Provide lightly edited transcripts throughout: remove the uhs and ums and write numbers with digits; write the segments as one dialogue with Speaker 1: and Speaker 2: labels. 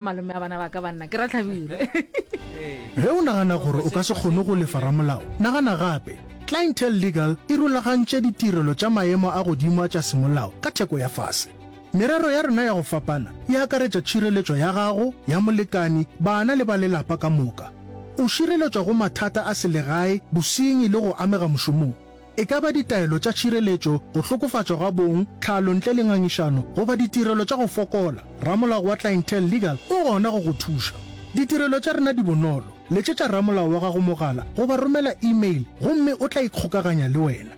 Speaker 1: Malome a bana ba ka banna ke Ratlhabile.
Speaker 2: Ge o nagana gore o ka se kgone go lefa ramolao, nagana gape. Clientele Legal e rulagantše ditirelo tša maemo a godimo a tša semolao ka theko ya fase. Merero ya rena ya go fapana e akaretša tšhireletšo ya gago, ya molekani, bana le ba lelapa ka moka. O šireletšwa go mathata a selegae, bosenyi le go amega mošomong. E ka ba ditaelo tša tšhireletšo, go hlokofatšwa ga bong, tlhalo ntle le ngangišano, goba ditirelo tša go fokola, ramolao wa Clientele Legal o gona go go thuša. Ditirelo tša rena di bonolo, letšetša ramolao wa gago mogala goba romela e-mail gomme o tla ikgokaganya le wena.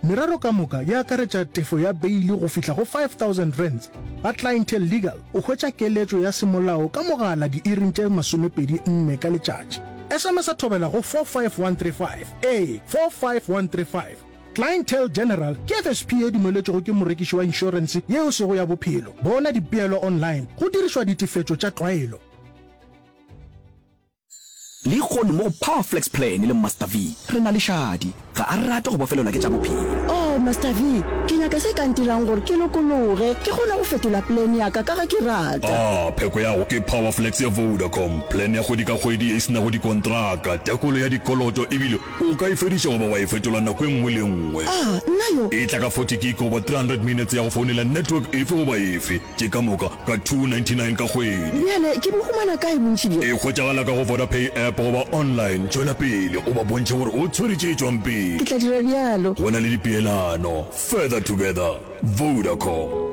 Speaker 2: Merero ka moka e akaretša tefo ya beili go fihla go R5000. Ga Clientele Legal o hwetša keletšo ya semolao ka mogala diiring tše 24 ka letšatši. SMS-a thobela go 45135. Ee, 45135. Clientele General ke FSP ye dumeletšwego ke morekiši wa inšorense ye e sego ya bophelo. Bona dipeelo online go dirišwa ditefetšo tša tlwaelo.
Speaker 3: Lehono mo go Power Flex Plan le Master V re na le Shadi. Ga a rate go bofelelwa ke tša bophelo.
Speaker 4: Oh, Master V, ke nyaka se ka ntirang gore ke lokologe, ke kgone go fetola plan ya ka ka ge ke rata.
Speaker 5: Ah, pheko ya go ke Power Flex ya Vodacom, plan ya kgwedi ka kgwedi ye e se nago dikontraka, tekolo ya dikoloto ebile o ka e fediša goba wa e fetola nako e nngwe le e nngwe.
Speaker 4: Ah, nna yo!
Speaker 5: E tla ka 40 gig goba 300 minutes ya go founela network efe goba efe. Tše ka moka ka 299 ka kgwedi.
Speaker 4: Bjale ke bo humana kae bontši bjo?
Speaker 5: E hwetšagala ka go Vodapay app goba online. Tšwela pele o ba bontšhe gore o tshwere tše tšwang pele.
Speaker 4: Ke tla dira bjalo.
Speaker 5: Go na le dipeelano. Further together. Vodacom.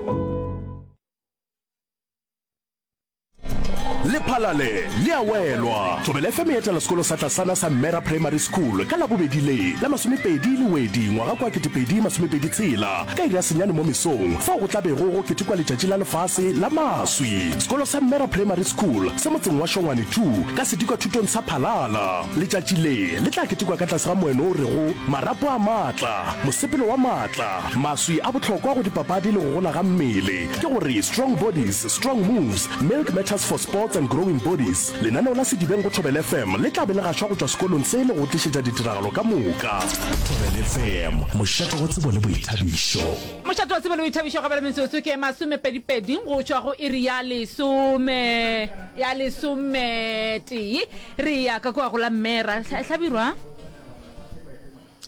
Speaker 3: Lephalale le a welwa. Thobela FM e etela sekolo sa tlasana sa Mmera Primary School ka Labobedi le la masomepedi Lewedi ngwaga kwa 2026 ka iri ya senyane mo mesong fao go tla bego go ketekwa letšatši la lefase la maswi. Sekolo sa Mmera Primary School se motseng wa Shongwane 2 ka sedikwathutong sa Phalala. Letšatši le le tla ketekwa ka tlase ga moeno o rego Marapo a maatla, mosepelo wa maatla, maswi a bohlokwa go dipapadi le go gola ga mmele, ke gore Strong Bodies, Strong Moves, Milk Matters for Sports and Growing Bodies. Lenaneo la Sedibeng go Thobela FM le tla be le gašwa go tšwa sekolong se le go tlišetša ditiragalo ka moka. Thobela FM, mošate wa tsebo le boithabišo.
Speaker 1: Mošate wa tsebo le boithabišo gabjale metsotso ke masomepedipedi go tšwa go iri ya lesome ya lesometee. Re ya ka kua go la Mmera. Hlabirwa.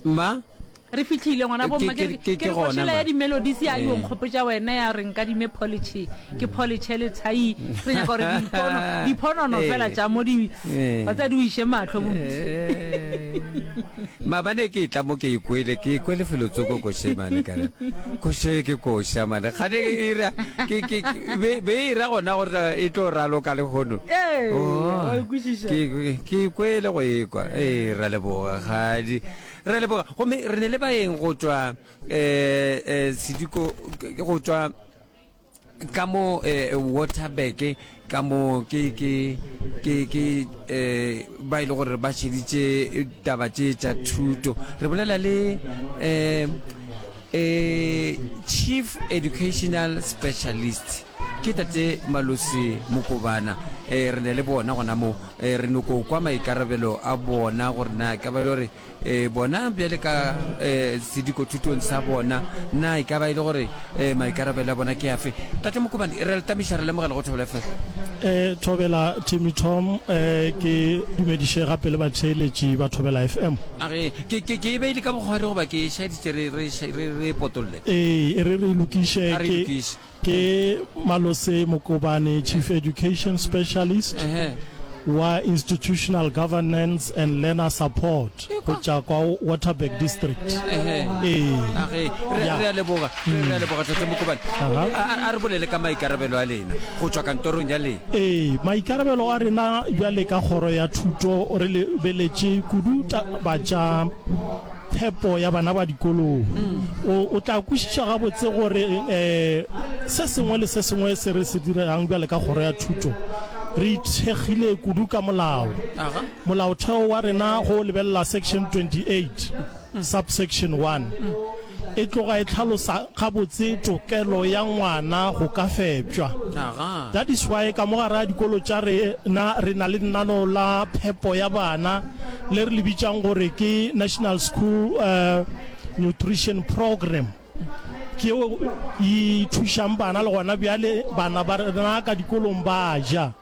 Speaker 6: Mma.
Speaker 1: Re fihlile ngwana bo mma.
Speaker 6: Ke, ke,
Speaker 1: ke
Speaker 6: ke gona
Speaker 1: košela
Speaker 6: ma.
Speaker 1: ya di-melodies ya yo
Speaker 6: Eh.
Speaker 1: nkgopotša wena ya re nkadime polish ke polish le thai re nyaka gore dipono diphonono
Speaker 6: Eh.
Speaker 1: fela tša mo di
Speaker 6: Eh.
Speaker 1: ba tsa di o iše mahlo bo
Speaker 6: Eh. Maabane ke tla mo ke ikwele ke ikwele felotsoko koše mane ka re koše ke koša mane gane e ra ke ke ke- be be e ra gona gore e tlo raloka lehono
Speaker 1: Ee,
Speaker 6: Oh,
Speaker 1: wa e kwešiša.
Speaker 6: ke ke ikwele go ekwa ee ra leboga gadi Re a leboga. Gomme re ne le baeng go tšwa um sediko go tšwa ka mo um Waterberg ka mo ke ke ke ke um ba e le gore ba šeditše taba tše tša thuto. Re bolela le um um Chief Educational Specialist ke tate Malose Mokobana. Um re ne le bona gona mo um re nyoko kwa maikarabelo a bona gore na ka ba e le gore E, bona bjale ka e, sedikothutong sa bona, na e ka ba e le gore e, maikarabelo a bona ke afe? Tate Mokobane, re a le tamiša, re lemogela go Thobela FM.
Speaker 7: E, Thobela Timmy Tom, e, ke dumediše gape le batheeletši ba Thobela FM.
Speaker 6: A re, ke, ke, ke e beile ka bokgwari goba ke e šaditše re, re, re, re e potolle?
Speaker 7: Ee, e re re e lokiše.
Speaker 6: A re e
Speaker 7: Ke,
Speaker 6: lokiše.
Speaker 7: Ke Malose Mokobane, Chief Education Specialist wa Institutional Governance and Learner Support go tša kwa Waterberg District. Ee.
Speaker 6: Age, re
Speaker 7: Ya.
Speaker 6: re a leboga, re re a leboga Tate Mokobane.
Speaker 7: Aha.
Speaker 6: A, a, a re bolele ka maikarabelo a lena go tšwa kantorong ya lena.
Speaker 7: Ee, maikarabelo a rena bjale ka Kgoro ya Thuto re lebeletše kudu taba tša phepo ya bana ba dikolong. O, o tla kwešiša gabotse gore um se sengwe le se sengwe se re se dirang bjale ka kgoro ya thuto, re ithekgile kudu ka molao. Molaotheo wa rena go o lebelela Section 28, subsection 1, e tloga e hlalosa gabotse tokelo ya ngwana go ka fepšwa. That is why ka mo gare ga dikolo tša rena re na le lenaneo la phepo ya bana le re le bitšang gore ke National School Nutrition Programme, ke yeo e thušang bana le gona bjale bana ba rena ka dikolong ba ja.